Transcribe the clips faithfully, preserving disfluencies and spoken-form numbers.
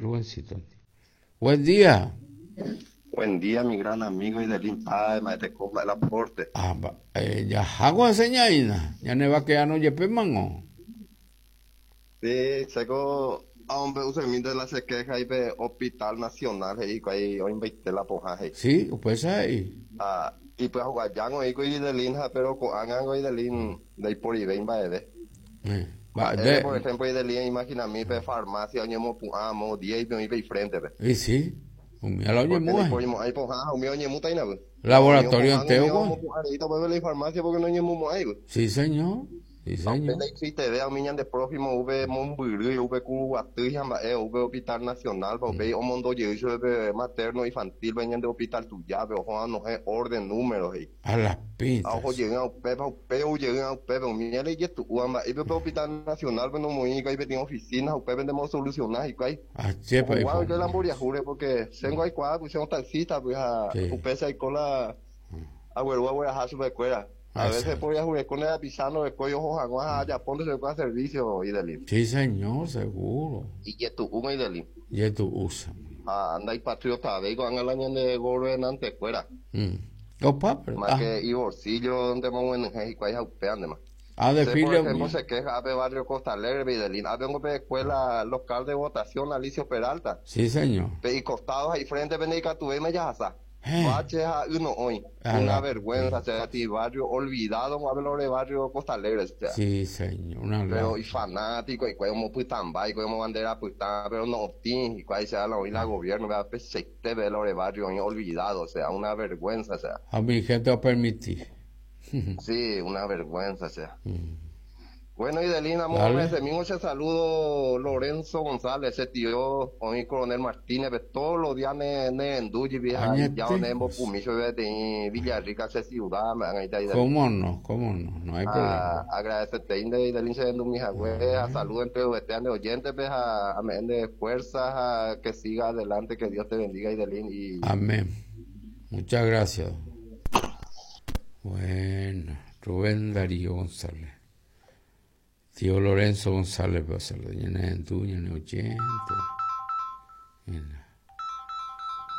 Rubencito. Buen día. Buen día, mi gran amigo Idelín Páez, maestro el aporte. Ah, eh, ya hago enseñaina. Ya ne va quedando yepe mango. Sí, seco hombre usualmente la se queja y pe Hospital Nacional y ahí hoy invité la poja. Sí, pues ahí. Ah, y pues jugar hoy con Idelín, pero con angan Idelín de ahí por y ven va de. Eh, va de. Por ejemplo, Idelín, imagina mi pe farmacia, oñemo puamo, diez y pe frente pe. Y sí. Laboratorio entero. Sí, señor. Sí, señor. Hospital Nacional, materno infantil, hospital orden número. A las pintas. Hospital Nacional, oficina, Ah, chepa, porque taxista, pues a veces por ir con el pisano de cuello ojo ya ponte se puede servicio y delí. Sí, señor, seguro. Y que tú uno y delí. Y tú usa. Ah, anda y patriota, veico anga la ñan de gobernante fuera. Mm. Opa, pero más que y bolsillo donde vamos en y cuál es upeande más. Ah, de por ejemplo, se queja a barrio Costa Alegre, Videlín, a vengo de escuela local de votación Alicio Peralta. Sí, señor. Y costados ahí frente venica tu me ya sa. Uno hoy, una vergüenza, o sea, ti barrio olvidado, hablo de barrio Costa Alegre, o sea. Sí, señor, una pero y fanático, y como putambay, como bandera pután, pero no tin, y cuál sea la hoy la gobierno, vea, pesete ve lo de barrio olvidado, o sea, una vergüenza, o sea. A mi gente va a permitir. Sí, una vergüenza, o sea. Mm. Bueno, Idelina, amor, ese mismo se saludo Lorenzo González, ese tío, hoy Coronel Martínez, todos los días ne ne enduyi, vieja, ya ne embo pumicho, de Villarrica, ese ciudad, me han ahí. ¿Cómo no? ¿Cómo no? No hay problema. Agradecerte, Idelina, se endu mis agües, saludo entre ustedes, de oyentes, pues, a, a de fuerzas, a que siga adelante, que Dios te bendiga, Idelina. Y... Amén. Muchas gracias. Bueno, Rubén Darío González. Tío Lorenzo González,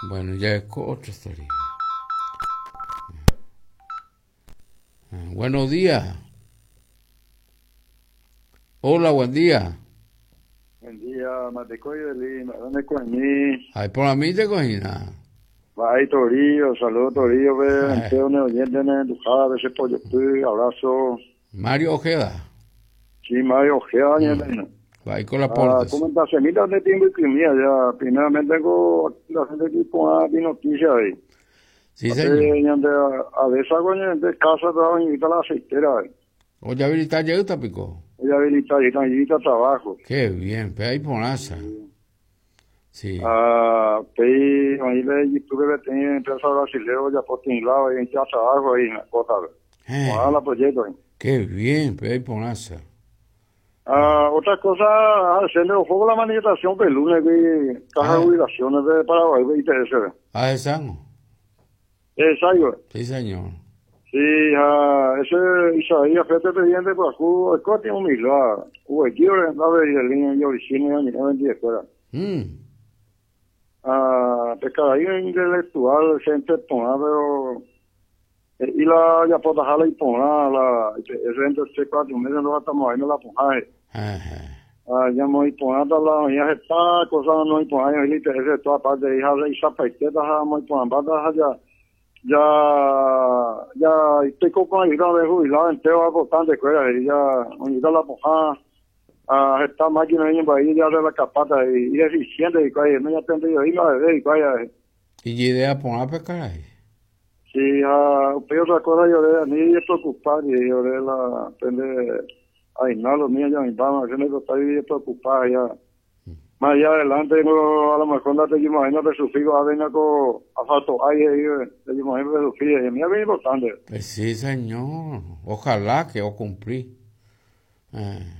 Bueno, ya es otra historia. Buenos días. Hola, buen día. Buen día, Matecoy de Lima. ¿Dónde cogí? Ay, por a mí te cogí nada. Bye, Torillo. Saludos, Torillo. Ve, oyente, pollo, abrazo. Mario Ojeda. Sí, Mario Ojeda, mm. Ahí con la ah, comentación de tiempo y crimea, ya. Primeramente tengo la gente que pone noticias ahí. Sí, señor. A veces hago de casa, trabajo en la aceitera. Oye, habilitar ya está, pico. Oye, habilitar, ya trabajo. Qué bien, pero ahí por asa. Sí. Ah, pe, ahí le tuve que tener empresa brasileña, ya por tinglado, y ya trabajo ahí en la cosa. Eh. la proyecto ahí. Qué bien, pero ahí por asa. Ah, otra cosa, hacerle ojo la manifestación del lunes, que caja de jubilaciones de Paraguay, I T S. Ah, esa no. Exacto. Sí, señor. Sí, ah, ese Isaías, fíjate, presidente, pues, hubo el corte un milagro. Hubo el tío, la veía, el niño, yo, el cine, yo, ni me escuela. Mm. Ah, pescadillo ahí intelectual, gente pona, pero y la ya potajala y pona, la ese entre tres, cuatro meses no estamos ahí no la poja. Ah, ya muy pona la ya está cosa no y pona y ese toda parte hija de esa paiteta muy pona ya ya ya estoy con ayuda de jubilado entero importante escuela y ya unida la poja. Ah, esta máquina en ahí ya de la capata y, y eficiente y cuál no ya tengo yo y la bebé y cuál y idea poner a pescar ahí. Sí, ah, pero otra cosa yo de a mí es preocupar y yo de la prende ay no los míos ya me van a hacer está bien preocupado ya. Más allá adelante no, a lo mejor no te imagino de sufrir a venir con asfalto ahí te imagino de sufrir y mí es bien importante. Pues sí, señor, ojalá que yo cumplí. Eh.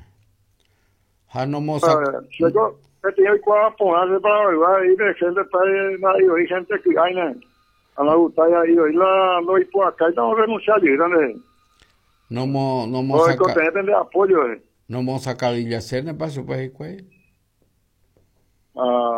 Ah, no mo sac... Yo que tengo que ponerse para averiguar y de gente para y gente que hay a la gusta y hoy la lo y por acá y no renunciar y grande. No mo no mo saca de apoyo. No mo sacar y hacer paso pues y Ah